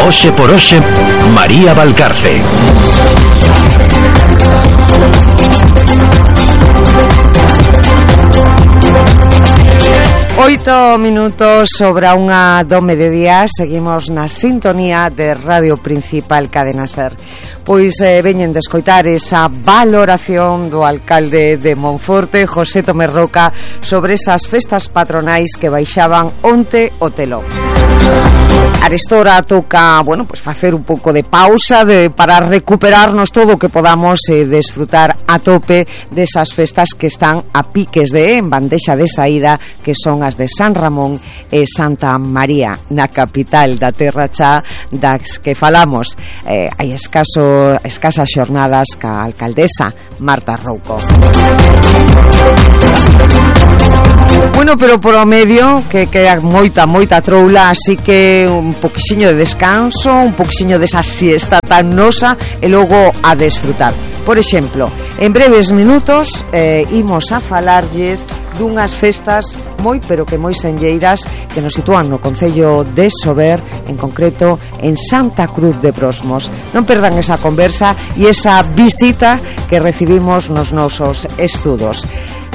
Hoxe por hoxe, María Valcarce. Oito minutos sobre unha do mediodía. Seguimos na sintonía de Radio Principal Cadena Ser. Pois veñen de escoitar esa valoración do alcalde de Monforte, José Tomé Roca, sobre esas festas patronais que baixaban onte o telón. Arestora toca, pues facer un pouco de pausa para recuperarnos todo o que podamos desfrutar a tope desas festas que están a piques en bandexa de saída, que son as de San Ramón e Santa María, na capital da Terra Cha, das que falamos hai escasas xornadas ca alcaldesa Marta Rouco. Pero por o medio que queda moita troula, así que un poquinho de descanso, un poquinho desa siesta tan nosa e logo a desfrutar. Por exemplo, en breves minutos imos a falarlles dunhas festas moi senlleiras que nos sitúan no concello de Sober, en concreto en Santa Cruz de Brosmos. Non perdan esa conversa e esa visita que recibimos nos nosos estudos.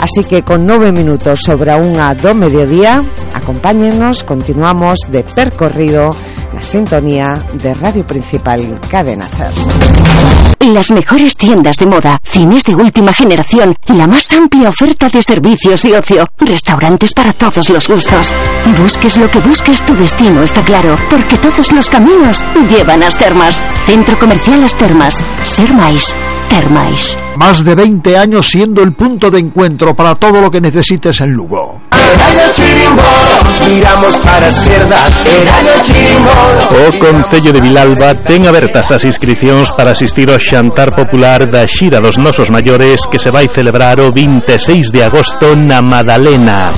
Así que con 9 minutos sobre a unha do mediodía, acompáñennos, continuamos de percorrido na sintonía de Radio Principal Cadena Ser. Las mejores tiendas de moda, cines de última generación, la más amplia oferta de servicios y ocio, restaurantes para todos los gustos. Busques lo que busques, tu destino está claro, porque todos los caminos llevan a As Termas. Centro Comercial As Termas. Ser máis, ter máis. Más de 20 años siendo el punto de encuentro para todo lo que necesites en Lugo. O Concello de Vilalba ten abertas as inscricións para asistir ao xantar popular da Xira dos Nosos Maiores, que se vai celebrar o 26 de agosto na Madalena.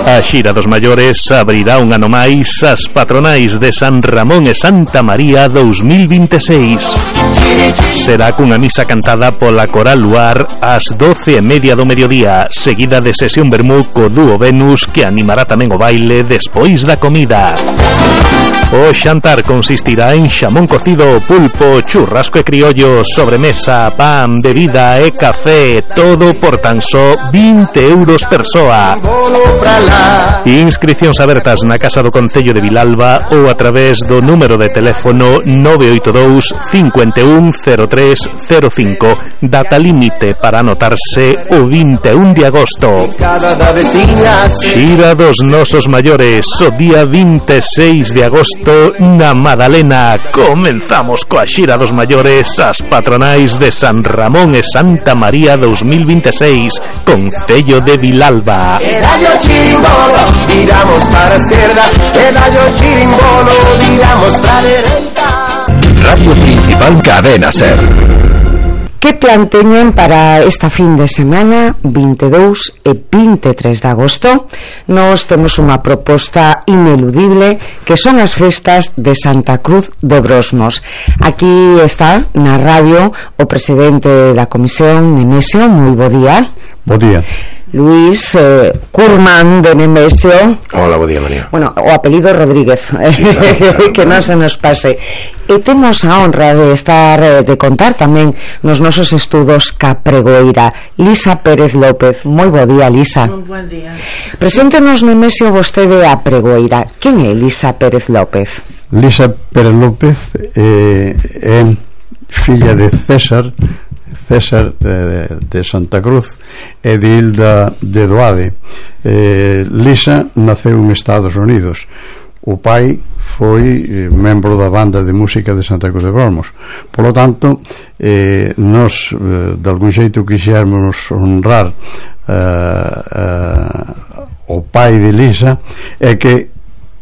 A Xira dos Maiores abrirá un ano máis as patronais de San Ramón e Santa María 2026. Será cunha misa cantada pola Coral Luar ás 12:30 do mediodía, seguida de sesión vermú co dúo Venus, que animará tamén o baile despois da comida. O xantar consistirá en xamón cocido, pulpo, churrasco e criollo, sobremesa, pan, bebida e café, todo por tan só 20 euros persoa. Inscricións abertas na Casa do Concello de Vilalba ou a través do número de teléfono 982 51 03 05. Data límite para anotarse o 21 de agosto. Xira dos Nosos Maiores, o día 26 de agosto na Madalena. Comenzamos coa Xira dos Maiores, as patronais de San Ramón e Santa María 2026, Concello de Vilalba. Chirimbolo, viramos para a esquerda, pedallo chirimbolo, viramos para a dereita. Radio Principal Cadena Ser. Que plan teñen para esta fin de semana 22 e 23 de agosto? Nós temos unha proposta ineludible, que son as festas de Santa Cruz de Brosmos. Aquí está na radio o presidente da comisión, Nemesio. Moi bo día. Bo día. Luis Curman de Nemesio. Hola, bo día, María. O apelido Rodríguez, que non se nos pase. E temos a honra de estar, de contar tamén nos nosos estudos ca pregoeira Lisa Pérez López. Moi bo día, Lisa. Un buen día. Preséntenos, Nemesio, vostede a pregoeira. Quen é Lisa Pérez López? Lisa Pérez López é filla de César de Santa Cruz e de Hilda de Doade. Lisa naceu en Estados Unidos. O pai foi membro da banda de música de Santa Cruz de Brosmos. Por lo tanto, nos de algún xeito quixéramos honrar o pai de Lisa, é que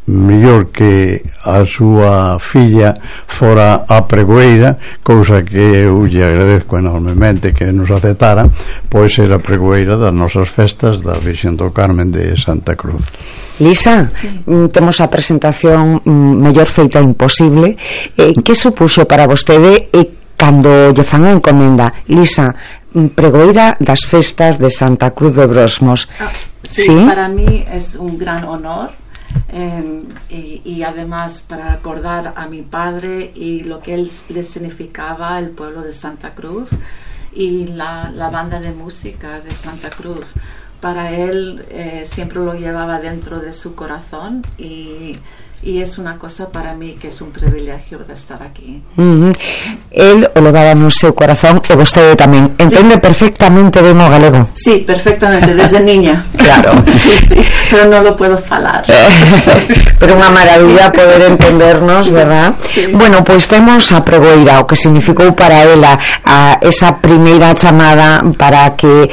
mellor que a súa filla fora a pregoeira, cousa que eu lle agradezco enormemente que nos aceptara, pois ser a pregoeira das nosas festas da Virxen do Carmen de Santa Cruz. Lisa, temos a presentación mellor feita imposible. Que supuxo para vostede cando lle fan a encomenda, Lisa, pregoeira das festas de Santa Cruz de Brosmos? Sí, ¿sí? Para mí es un gran honor y además para recordar a mi padre y lo que él le significaba el pueblo de Santa Cruz y la banda de música de Santa Cruz. Para él siempre lo llevaba dentro de su corazón y es una cosa para mí que es un privilegio de estar aquí. Él o levaba no seu corazón e vostede tamén entende perfectamente ben o galego. Sí, perfectamente, desde niña. Claro. Sí, pero no lo puedo falar. Pero unha maravilla poder entendernos, verdad? Sí. Bueno, pois temos a pregoeira, o que significou para ela esa primeira chamada para que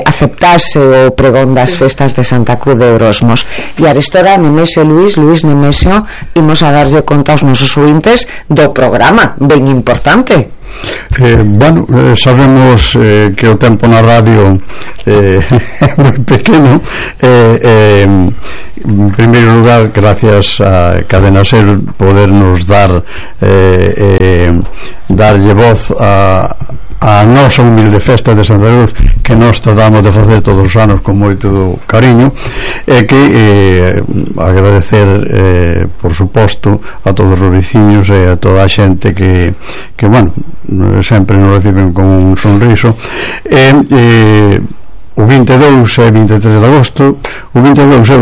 aceptase o pregón das festas de Santa Cruz de Orosmos. E arestora Nemesio Luis Nemesio, imos a darlle conta aos nosos ouvintes do programa, ben importante. Sabemos que o tempo na radio é moi pequeno. En primeiro lugar, gracias a Cadena Ser podernos darlle voz a nosa humilde festa de Santa Cruz, que nós tratamos de facer todos os anos con moito cariño, e que agradecer por suposto a todos os veciños e a toda a xente que bueno, sempre nos reciben con un sonriso. O 22 e 23 de agosto, o 22 é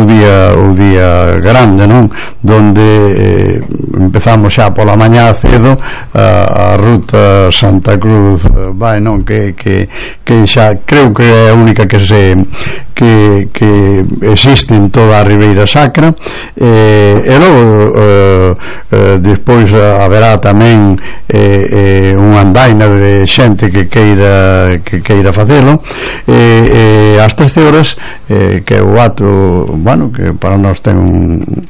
o día grande, non? Donde empezamos xa pola mañá cedo a ruta Santa Cruz vai, non? Que xa creo que é a única que existe en toda a Ribeira Sacra, e logo despois haberá tamén unha andaina de xente que queira facelo, ás 13 horas, que é o ato, bueno, que para nós ten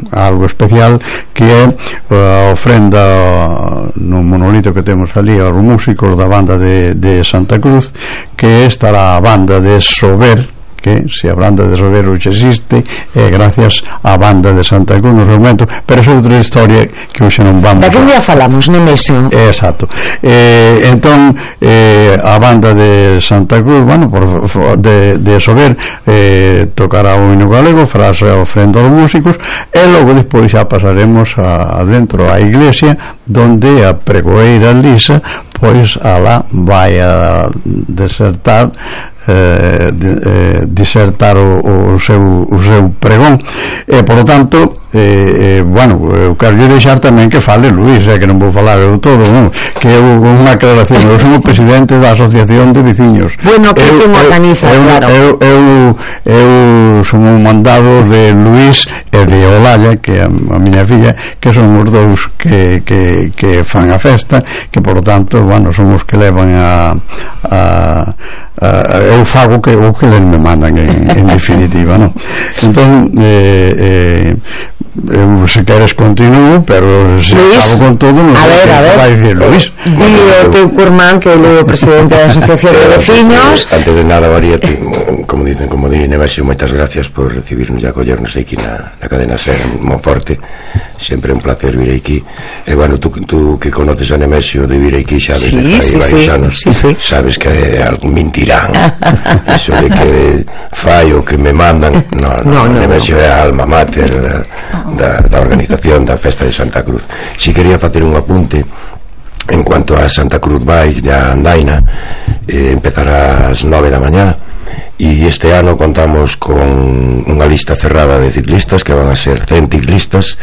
algo especial, que é a ofrenda no monolito que temos ali aos músicos da banda de Santa Cruz, que estará a banda de Sober, que se a banda de Sober hoxe existe é gracias á banda de Santa Cruz no seu momento, pero é outra historia que hoxe non vamos. Daquén día falamos, Nemesio. Exacto. Entón a banda de Santa Cruz, bueno, de Sober, tocará o hino galego, farase a ofrenda aos músicos, e logo despois xa pasaremos adentro á iglesia, donde a pregoeira Lisa pois alá vai a disertar o seu pregón, e por lo tanto bueno, eu quero deixar tamén que fale Luís, que non vou falar eu todo, non? Que é unha aclaración. Eu sou o presidente da Asociación de Veciños. Bueno, que te organiza, claro. Eu son un mandado de Luís e de Olalla, que é a miña filla, que son os dous que fan a festa, que por lo tanto, bueno, son os que levan eu fago o que eles me mandan en definitiva, non? Entón se queres continuo, pero se acabo con todo non vai dicir Luís. E o teu curmán, que é o presidente da Asociación de Veciños. Antes de nada, María, como di Nemesio, moitas gracias por recibirnos e acollernos aquí na Cadena Ser en Monforte. Sempre un placer vir aquí. E bueno, tú que conoces a Nemesio de vir aquí xa desde varios anos, sabes que algún mentirán. Eso de que fai o que me mandan, no, Nemesio é a alma mater da organización da festa de Santa Cruz. Si quería facer un apunte en cuanto a Santa Cruz vai da andaina, empezará ás 9 da mañá, e este ano contamos con unha lista cerrada de ciclistas, que van a ser 100 ciclistas,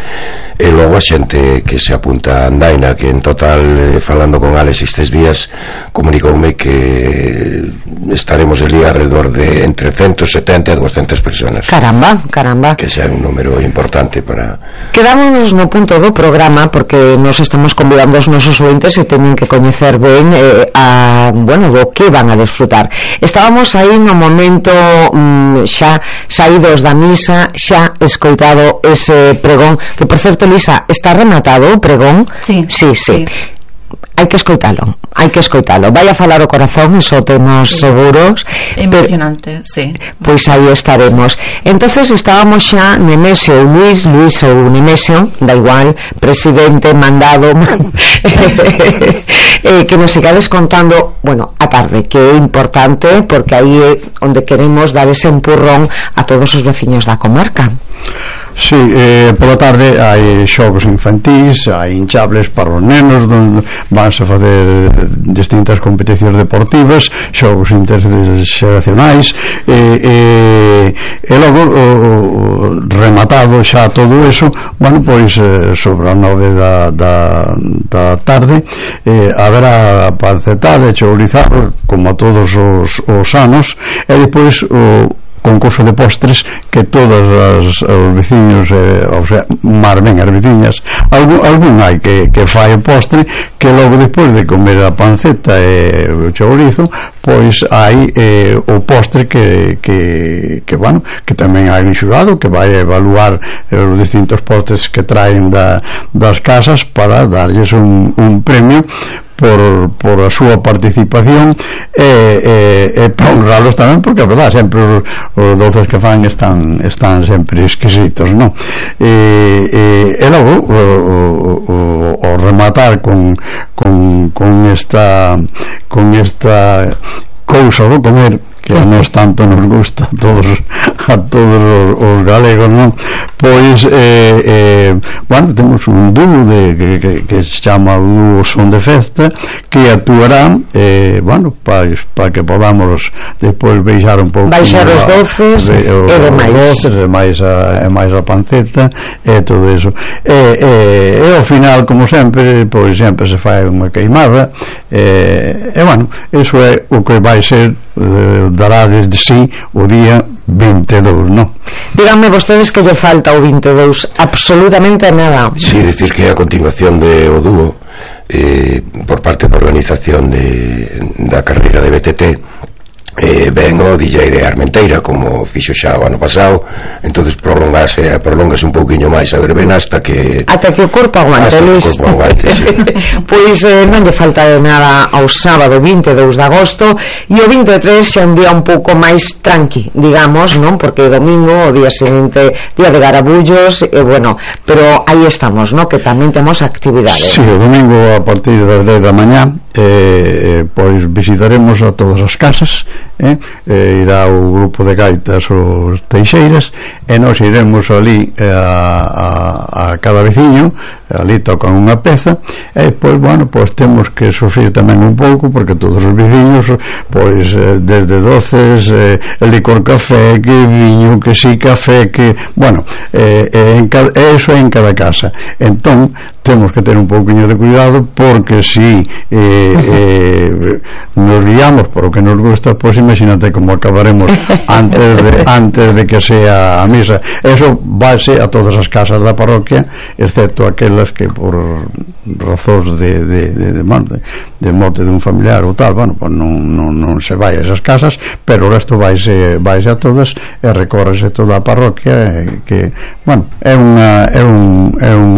e logo a xente que se apunta a andaina, que en total, falando con Alex estes días, comunicoume que estaremos ali alrededor de entre 170 e 200 personas. Caramba. Que sea un número importante para... Quedámonos no punto do programa, porque nos estamos convidando aos nosos ouvintes e teñen que coñecer ben bueno, do que van a desfrutar. Estábamos aí no momento xa saídos da misa, xa escoitado ese pregón, que por certo, Lisa, está rematado o pregón? Sí. Hai que escoitalo. Vai a falar o corazón, iso temos seguros. Emocionante, sí. Pois aí estaremos. Entonces estábamos xa Nemesio, Luís ou Nemesio, da igual, presidente, mandado, que nos sigades contando, bueno, a tarde, que é importante, porque aí é onde queremos dar ese empurrón a todos os veciños da comarca. Sí, pola tarde hai xogos infantís, hai hinchables para os nenos onde vanse a facer distintas competicións deportivas, xogos interxeracionais, e logo rematado xa todo eso, bueno, pois sobre as 9 da tarde haberá pancetada e chourizados como a todos os anos, e depois o concurso de postres que todas os veciños, o sea, máis ben as veciñas, algún hai que fai o postre, que logo depois de comer a panceta e o chourizo, pois hai o postre que bueno, que tamén hai un xurado que vai evaluar os distintos postres que traen das casas para darlles un premio por a súa participación e para honralos tamén, porque a verdade sempre os doces que fan están sempre exquisitos, non? E logo o rematar con esta cousa do comer que a nos tanto nos gusta a todos os galegos, non? Pois bueno, temos un dúo que se chama o dúo Son de Festa, que actuarán bueno, para que podamos depois baixar un pouco, baixar os doces e máis a panceta e todo eso, e ao final, como sempre, pois sempre se fai unha queimada, e bueno, iso é o que vai ser dará desde sí o día 22, non? Díganme vostedes que lle falta o 22, absolutamente nada. Sí, decir que a continuación de o dúo por parte da organización da carreira de BTT ven o DJ de Armenteira, como fixo xa o ano pasado, entonces prolongase un pouquiño máis a verbena hasta que o corpo aguante, Luis. Sí. Pois non lle falta de nada ao sábado 22 de agosto, e o 23 xa un día un pouco máis tranqui, digamos, non? Porque o domingo, o día seguinte, día de garabullos, bueno, pero aí estamos, non? Que tamén temos actividades. Sí, o domingo a partir das 10 da mañá pois visitaremos a todas as casas, irá o grupo de gaitas os Teixeiras, e nós iremos ali a cada veciño, ali tocan unha peza, e pois bueno, pois temos que sufrir tamén un pouco, porque todos os veciños pois desde doces, licor café, que viño, que si café, que bueno, eso é en cada casa. Entón temos que ter un pouquinho de cuidado, porque si nos guiamos por o que nos gusta, pois imagínate como acabaremos antes de que sea a misa. Eso váise a todas as casas da parroquia, excepto aquelas que por razóns de morte de un familiar ou tal, bueno, pues non se vai a esas casas, pero o resto váise a todas e recórrese toda a parroquia, que bueno, é un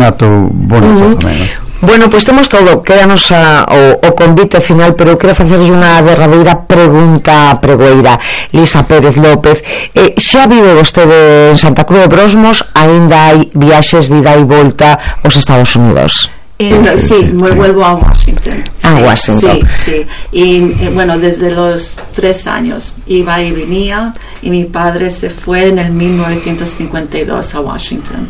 acto bonito tamén, non? Bueno, pois temos todo, quédanos o convite final, pero eu quero facerlle unha derradeira pregunta pregoeira. Lisa Pérez López, xa vive vostede en Santa Cruz de Brosmos, aínda hai viaxes de ida e volta aos Estados Unidos? Sí, me vuelvo a Washington. Washington. Sí. Y bueno, desde los 3 años iba y venía, y mi padre se fue en el 1952 a Washington.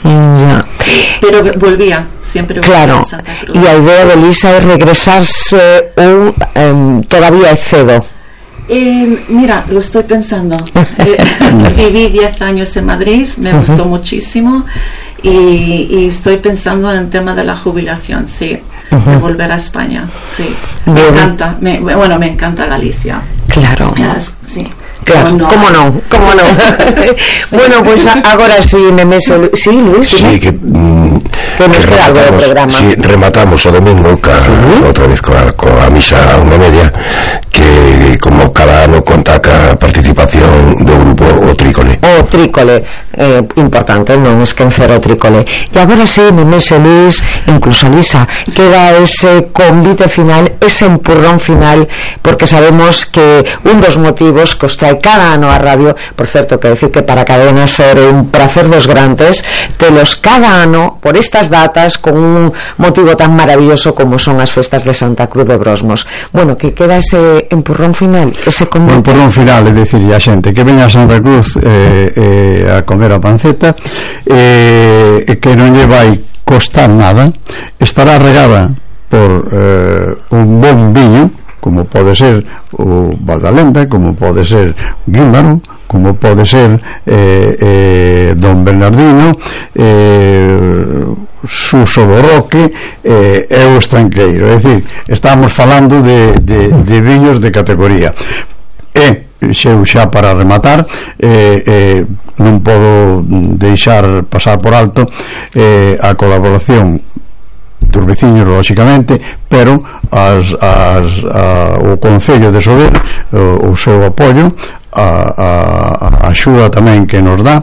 Pero volvía, siempre volvía a Santa Cruz. Y a idea de Lisa es regresarse ou todavía é cedo? Mira, lo estoy pensando. Viví 10 años en Madrid, me gustó muchísimo. Y estoy pensando en el tema de la jubilación, sí, de volver a España, sí. Me encanta, me encanta Galicia. Claro. Sí. Claro, ¿cómo no? Bueno, pues agora sí, sí, Luis. Sí, que nos queda algo do programa. Sí, rematamos o domingo outra vez coa misa a 1:30, que como cada ano conta ca participación do grupo O Trícole. O Trícole, importante non esquecer o Trícole. E agora sí, Nemesio, Luis, incluso Lisa, queda ese convite final, ese empurrón final, porque sabemos que un dos motivos que os trae trae cada ano a radio. Por certo, que decir que para Cadena Ser é un prazer dos grandes telos cada ano por estas datas con un motivo tan maravilloso como son as festas de Santa Cruz de Brosmos. Bueno, que queda ese empurrón final, ese convite. O empurrón final é dicir a xente que veña a Santa Cruz a comer a panceta, que non lle vai costar nada, estará regada por un bon viño, como pode ser o Valdalenda, como pode ser Guímaro, como pode ser Don Bernardino, Suso do Roque e o Estranqueiro. É dicir, estamos falando de viños de categoría. Xa para rematar, non podo deixar pasar por alto a colaboración dos veciños, lóxicamente, pero o Concello de Sober, o seu apoio, a axuda tamén que nos dá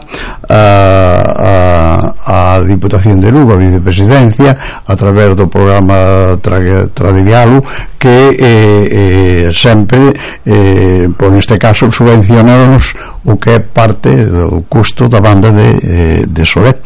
a Diputación de Lugo, a Vicepresidencia, a través do programa Tradidialo, que sempre, por neste caso, subvencionanos o que é parte do custo da banda de Soler.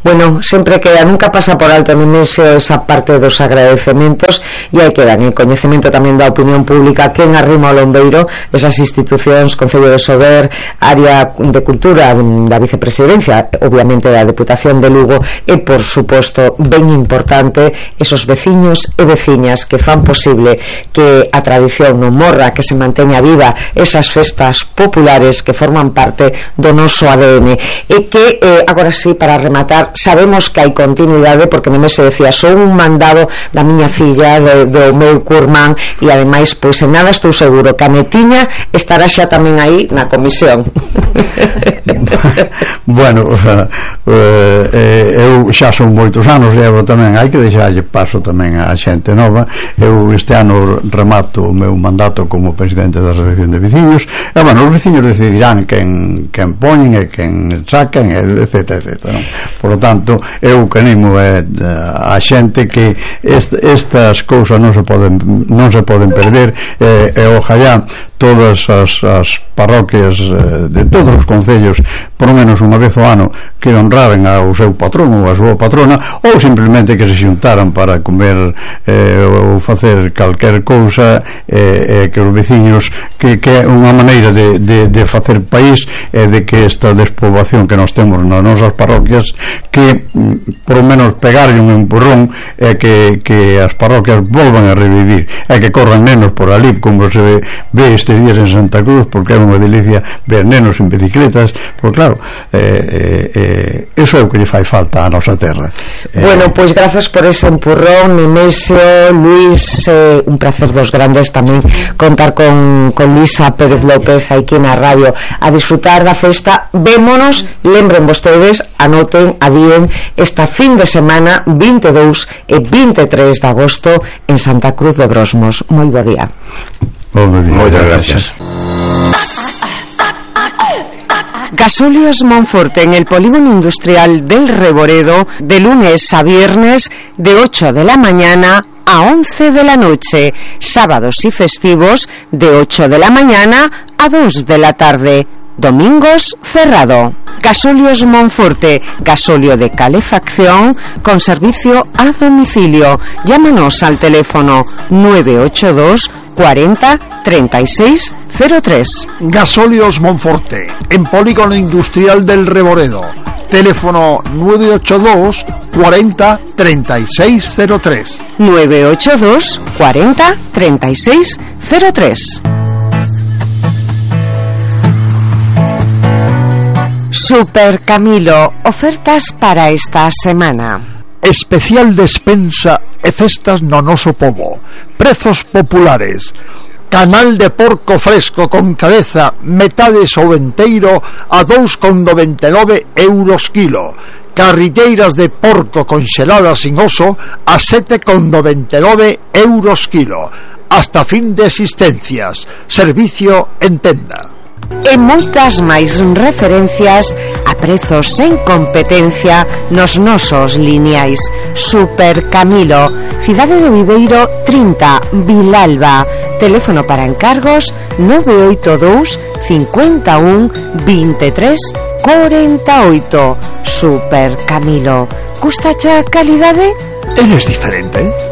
Bueno, sempre queda, nunca pasa por alto esa parte dos agradecementos, e hai que dar en coñecemento tamén da opinión pública que en Arrimo ao Lombeiro esas institucións, Concello de Sober, Área de Cultura da Vicepresidencia, obviamente da Deputación de Lugo, e por suposto ben importante esos veciños e veciñas que fan posible que a tradición non morra, que se manteña viva esas festas populares que forman parte do noso ADN, e que agora sí, para rematar, sabemos que hai continuidade, porque non me se decía, son un mandado da miña filla, do meu curmán, e ademais, pois en nada estou seguro que a netiña estará xa tamén aí na comisión. Bueno, eu xa son moitos anos, levo tamén, hai que deixarlle paso tamén a xente nova. Eu este ano remato o meu mandato como presidente da Asociación de Veciños, e bueno, os veciños decidirán quen poñen e quen sacan, etc, non? Por lo tanto, eu que animo a xente que estas cousas non se poden perder, e ojalá todas as parroquias de todos os concellos, por lo menos unha vez ao ano, que honraren ao seu patrón ou a súa patrona, ou simplemente que se xuntaran para comer ou facer calquer cousa, que os veciños, que é unha maneira de facer país, e de que esta despoboación que nós temos nas nosas parroquias, que por lo menos pegarlle un empurrón, e que as parroquias volvan a revivir, e que corran nenos por ali, como se ve estes días en Santa Cruz, porque é unha delicia ver nenos en bicicletas, porque claro, eso é o que lle fai falta á nosa terra. Bueno, pois grazas por ese empurrón, Nemesio, Luis, un placer dos grandes tamén contar con Lisa Pérez López aquí na radio a disfrutar da festa. Vémonos, lembren vostedes, anoten, adíen esta fin de semana 22 e 23 de agosto en Santa Cruz de Brosmos. Moi bo día. Moitas gracias. Gasóleos Monforte en el polígono industrial del Reboredo, de lunes a viernes de 8 de la mañana a 11 de la noche, sábados y festivos de 8 de la mañana a 2 de la tarde. Domingos cerrado. Gasóleos Monforte, gasóleo de calefacción con servicio a domicilio. Llámanos al teléfono 982 40 36 03. Gasóleos Monforte, en polígono industrial del Reboredo. Teléfono 982 40 36 03. 982 40 36 03. Super Camilo, ofertas para esta semana. Especial despensa e festas no noso pobo. Prezos populares. Canal de porco fresco con cabeza, metades ou enteiro a 2,99 euros kilo. Carrilleiras de porco conxeladas sin oso a 7,99 euros kilo. Hasta fin de existencias. Servicio en tenda. E moitas máis referencias a prezos sen competencia nos nosos lineais. Super Camilo, Cidade de Viveiro 30, Vilalba. Teléfono para encargos 982 51 23 48. Super Camilo. Gustacha calidade? Eres diferente.